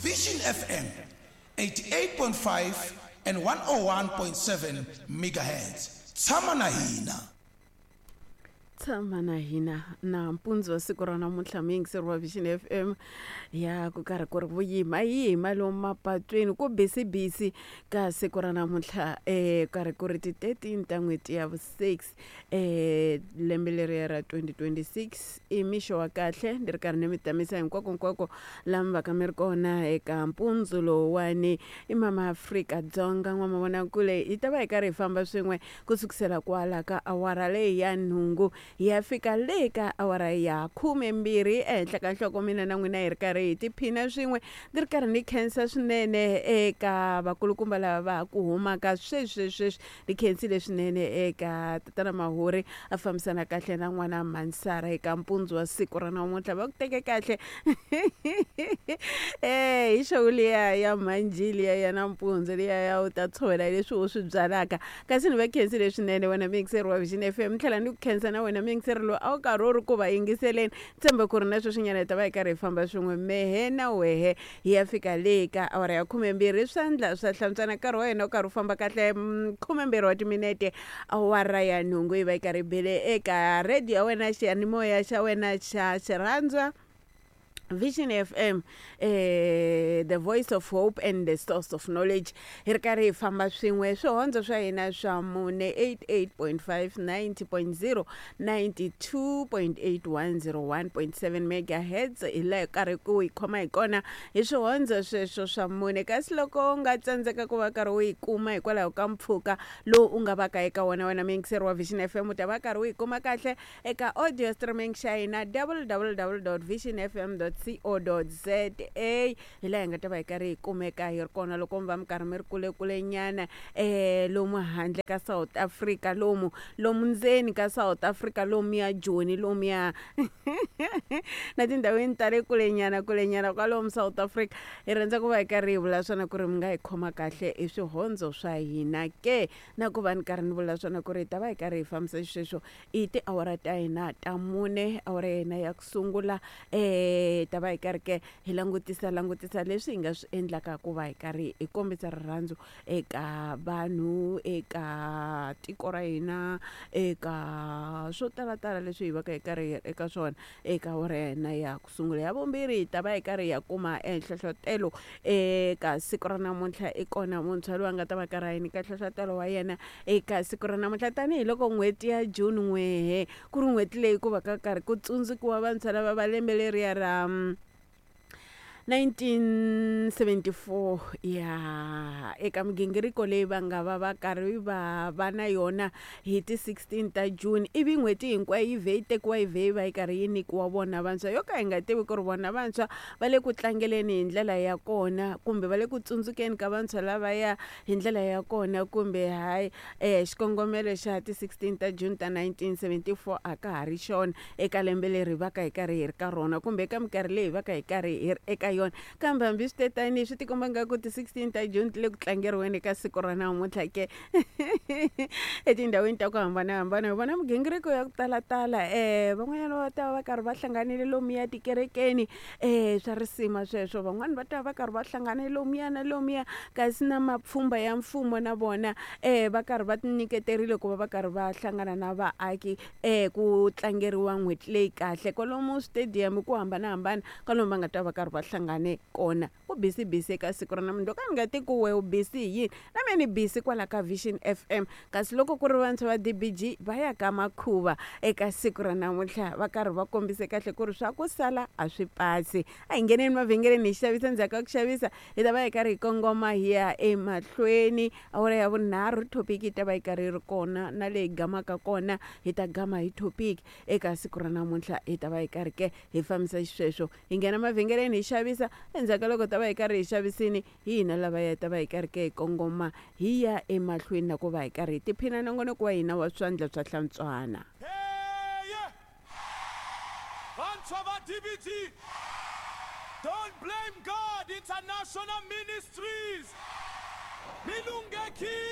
Vision FM 88.5 and 101.7 megahertz. Tshama na hina. Tshama na hina nampundzu wa siku ra namuntlha muyingiseri wa Vision FM ya ku karhi ku ri vuyima yima lomu mapatwini ku bisibisi ka siku ra namuntlha karhi ku ri ti 13 ta n'hweti ya vu-6 lembe leriya ra 2026. I mixo wa kahle, ni ri karhi ni mi tamisa hinkwako hinkwako laha mi va ka mi ri kona eka mpundzu lowuwani. I mama Afrika Dzonga n'wamavonakule, hi ta va hi karhi hi famba swin'we ku sukisela kwala ka awara leyi ya nhungu hi ya fika le ka awara ya 12 ehenhla ka nhloko. Mina na n'wina hi ri karhi hi tiphina swin'we. Ndzi ri karhi ni khensa swinene eka vakulukumba lava va ha ku humaka sweswi sweswi. Ni khensile swinene eka tatana Mahuri, a fambisana kahle na n'wana Mansara eka mpundzu wa siku ra namuntlha. Va ku teke kahle hi show liya ya mhanji liya ya nampundzu liya ya u ta tshovela leswi u swi byalaka. Kasi ni va khensile swinene wena muyingiseri wa Vision FM, ni tlhela ni ku khensa na wena muyingiseri loyi a wu karhi u ri ku va yingiseleni. Tshemba ku ri na sweswinyana hi ta va hi karhi hi famba swin'we mehe na wehe hi ya fika le ka awara ya 12. Swandla swa hlantswana, nkarhi wa hina wu karhi wu famba kahle. 12 wa timinete awara ya nhungu yi va yi karhi yi bile eka radio ya wena, xiyanimoya xa wena xa xirhandzwa Vision FM, the voice of hope and the source of knowledge. Hi ri karhi hi famba swin'we swihondzo swa hina swa mune, 88.5, 90.0, 92.8, 101.7 megahertz. Hi laha karhi ku yi khoma hi kona hi swihondzo sweswo swa mune. Kasi loko u nga tsandzeka ku va karhi u yi kuma hikwalaho ka mpfhuka lowu u nga va ka eka wona, wena muyingiseri wa Vision FM, u ta va karhi u yi kuma kahle eka audio streaming xa hina, www.visionfm.co.za. Hi laha hi nga ta va hi karhi hi kumeka hi ri kona loko mi va mi karhi mi ri kulekule nyana, lomu handle ka South Africa, lomu lomu ndzeni ka South Africa, lomuya Joni, lomuya na tindhawini ta le kulenyana kulenyana kwalomu South Africa. Hi rhandza ku va hi karhi hi vula swona ku ri mi nga hi khoma kahle hi swihondzo swa hina ke, na ku va ni karhi ni vula swona ku ri hi ta va hi karhi hi fambisa xisweswo i tiawara ta hina ta mune. Awara ya hina ya ku sungula ta va hi karhi ke hi langutisa langutisa leswi hi nga swi endlaka ku va hi karhi hi kombisa rirhandzu eka vanhu, eka tiko ra hina, eka swo talatala leswi hi va ka hi karhi hi eka swona eka awara ya hina ya ku sungula. Ya vumbirhi hi ta va hi karhi hi ya kuma nhlohlotelo eka siku ra namuntlha. I kona muntshwa loyi a nga ta va karhi a hi nyika nhlohlotelo wa yena eka siku ra namuntlha, tanihiloko n'hweti ya June n'wehe ku ri n'hweti leyi ku va ka karhi ku tsundzukiwa vantshwa lava va lembe leriya ra 1974 ya eka migingiriko leyi va nga va va karhi va va na yona hi ti 16 ta June. Ivi n'hweti hinkwayo yi vhe yi tekiwa yi vhe yi va yi karhi yi nyikiwa vona vantshwa, yo ka hi nga tivi ku ri vona vantshwa va le ku tlangeleni hi ndlela ya kona kumbe va le ku tsundzukeni ka vantshwa lavaya hi ndlela ya kona kumbe hayi. Xikongomelo xa ti 16 ta June ta 1974 a ka ha ri xona eka lembe leri hi va ka hi karhi hi ri ka rona kumbe eka minkarhi leyi hi va ka hi karhi hi ri eka yona. Kambe hambi swi te tani, swi tikomba nga ku ti 16 ta June ti le ku tlangeriweni eka siku ra namuntlha ke etindhawini ta ku hambanahambana. Hi vona migingiriko ya ku talatala, van'wanyana va ta va va karhi va hlanganile lomuya tikerekeni, swa risima sweswo. Van'wani va ta va karhi va hlanganile lomuya na lomuya, kasi na mapfhumba ya mfumo na vona va karhi va tinyiketerile ku va va karhi va hlangana na vaaki ku tlangeriwa n'hweti leyi kahle kwalomu stadium ku hambanahambana kwalomu va nga ta va karhi va hlangane kona. Ku busy busy eka siku ra namuntlha. Ka ni nga ti ku we u busy hi yini, na me ni busy kwala ka Vision FM. Kasi loko ku ri vantshwa va DBG va ya ka makhuva eka siku ra namuntlha, va karhi va kombise kahle ku ri swa ku sala a swi pasi. A hi ngheneni mavhengeleni hi xavisa, ndzhaku ka ku xavisa hi ta va hi karhi hi kongoma hi ya emahlweni. Awara ya vunharhu topic yi ta va yi karhi yi ri kona, na leyi gamaka kona hi ta gama hi topic eka siku ra namuntlha. Hi ta va hi karhi ke hi fambisa xisweswo, hi nghena mavhengeleni hi xavisa, endzhaku ka loko ta va hi karhi hi xavisini hi hina lavaya hi ta va hi karhi ke hi kongoma hi ya emahlweni na ku va hi karhi hi tiphina nongonoko wa hina wa swandla swa hlantswana. Hey! Vantshwa va DBG, Don't Blame God International Ministries, mi lunghekile.